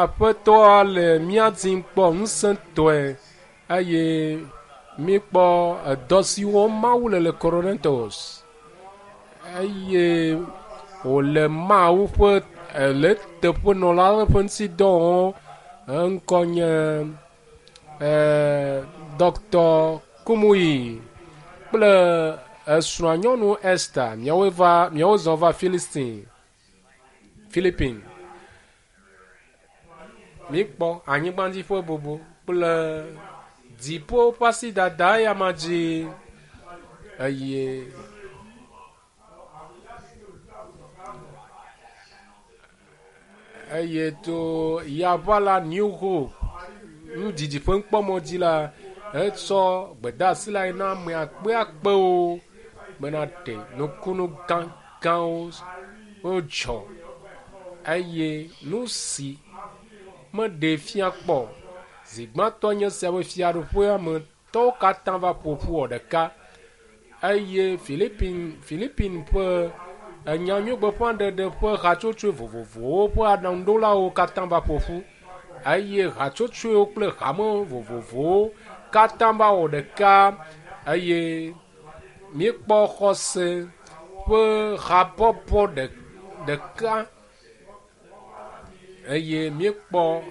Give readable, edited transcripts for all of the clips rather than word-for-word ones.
Aƒetɔa le mía dim kpɔ ŋusẽtɔe eye míkpɔ edɔ si wɔm Mawu le le Korintos eye wòle Mawu ƒe le teƒenɔla ƒe ŋutidɔ wɔm. Eŋkɔ nye Dr. Kumuyi kple esrɔ̃a nyɔnu Esther. Miawoe va miawo zɔ va Philistine Philippine. Míkpɔ anyigbadzi ƒe bobo kple dziƒo ƒe asidada eyama dzi eye eye to yaʋala New Hope nudidi ƒe nukpɔmɔ dzi la, etsɔ gbedeasi la yi na ame akpeakpewo bena ɖe nukunu gãgãwo wodzɔ eye nu si meɖee fia kpɔ zi gbãtɔ nye sia be fiaɖuƒea me tɔwo katã va ƒo ƒu wɔ ɖeka eye Philippine Philippine ƒe enyanyuigbeƒãɖeɖe ƒe hatsotsoe vovovowo ƒe aɖaŋuɖolawo katã va ƒo ƒu eye hatsotsoewo kple hame vovovowo katã va wɔ ɖeka eye míekpɔ xɔse ƒe habɔbɔ ɖeka eye míekpɔ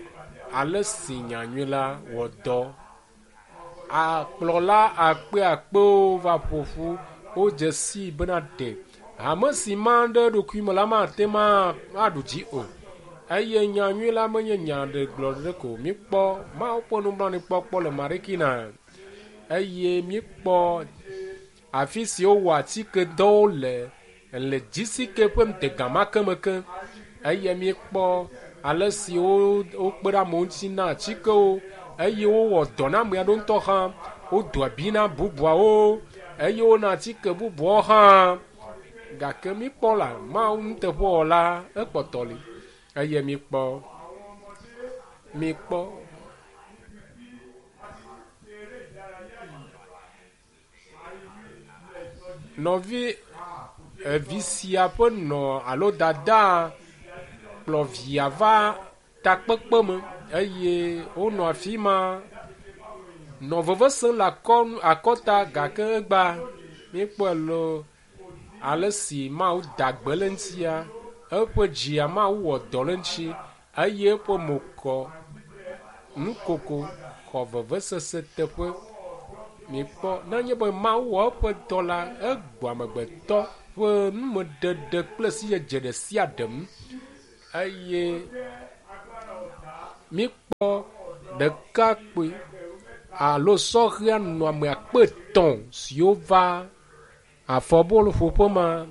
ale si nyanyui la wɔ dɔ. Akplɔla akpeakpewo va ƒo ƒu. Wodze sii bena ɖe hame si ma ɖe eɖokui me la mate ŋu aɖu dzi o. Eye nyanyui la menye nya ɖe gblɔ ɖe ko. Míkpɔ Mawu ƒe nublanuikpɔkpɔ le Marikina eye míekpɔ afi si wowɔ atikedɔwo le le GCK ƒe ŋutega ma ke me ke eye míekpɔ ale si wokpe ɖe amewo ŋuti na atikewo eye wowɔ dɔ na ame aɖewo ŋutɔ hã. Wodo abi na bubuawo eye wona atike bubuawo hã. Gake míkpɔ la, Mawu nuteƒewɔla ekpɔtɔ li eye míkpɔ míkpɔ Nɔvi evi sia ƒe nɔ alo dada kplɔ via va takpekpe me eye wonɔ afi ma nɔ veve sem le akɔnu akɔta gake egbea míekpɔe loo ale si Mawu da gbe le eŋutia eƒe dzia Mawu wɔ dɔ le eŋuti eye eƒe mo kɔ nukoko xɔ vevesese teƒe. Mikpɔ nenye be Mawu wɔ eƒe dɔ la, egbɔ amegbetɔ ƒe numeɖeɖe kple sidzedze ɖe sia ɖe ŋu eye míkpɔ ɖekakpui alo sɔhɛa nɔ ame akpe etɔ̃ siwo va afɔbɔluƒoƒe ma.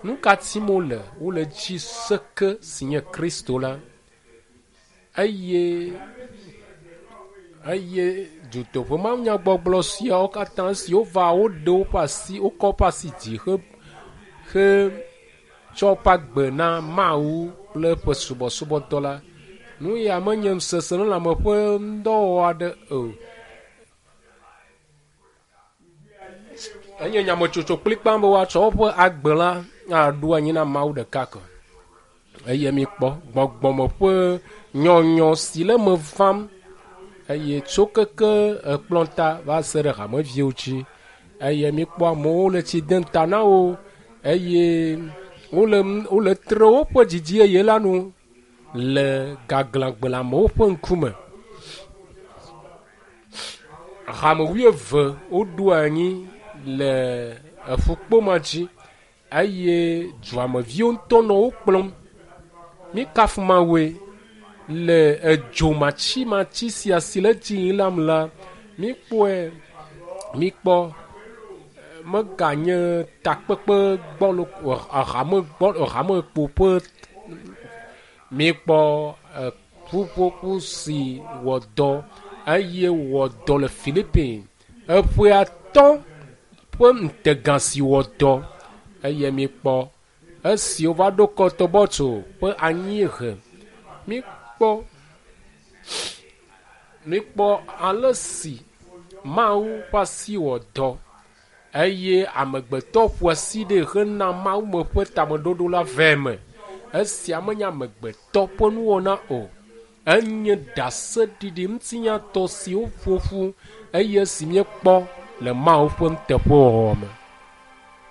Nu ka tim wole? Wole dzi seke si nye Kristo la eye eye dutoƒe mawunyagbɔgblɔ siawo katã esi wova woɖe woƒe asi wokɔ woƒe asi dzi he hetsɔ woƒe agbe na Mawu kple eƒe subɔsubɔdɔ la. Nu ya menye seselelãme ƒe ŋdɔwɔwɔ aɖe o. Enye nyametsotso kplikpaa be woatsɔ woƒe agbe la aɖo anyi na Mawu ɖeka ko. Eye mikpɔ gbɔgbɔme ƒe nyɔnyɔ si le eme vam eye tso keke ekplɔta va se ɖe hameviwo dzi eye mikpɔ amewo le tsi dem ta na wo eye wole wole tre woƒe didi yeye la nu le gaglãgbe le amewo ƒe ŋkume. Hame wuieve woɖo anyi le eƒukpo ma dzi eye duameviwo ŋutɔ nɔ wo kplɔm. Míkafu Mawue le edzo matsimatsi sia si le edzi yim la me la, míkpɔe, míkpɔ meganye takpekpe gbɔlo hame gbɔ hame kpo ƒe míkpɔ ƒuƒoƒo si wɔ dɔ eye wɔ dɔ le Philippines. Eƒe atɔ̃ ƒe ŋutega si wɔ dɔ eye míkpɔ esi wova ɖo Kɔtɔbɔtso ƒe anyiehe. Míkpɔ míkpɔ ale si Mawu ƒe asi wɔ dɔ eye amegbetɔ ƒo asi ɖe hena Mawu me ƒe tameɖoɖo la vɛ me. Esia menye amegbetɔ ƒe nuwɔna o. Enye ɖaseɖiɖi ŋutinyatɔ si woƒo ƒu eye si míekpɔ le Mawu ƒe nuteƒewɔwɔ me.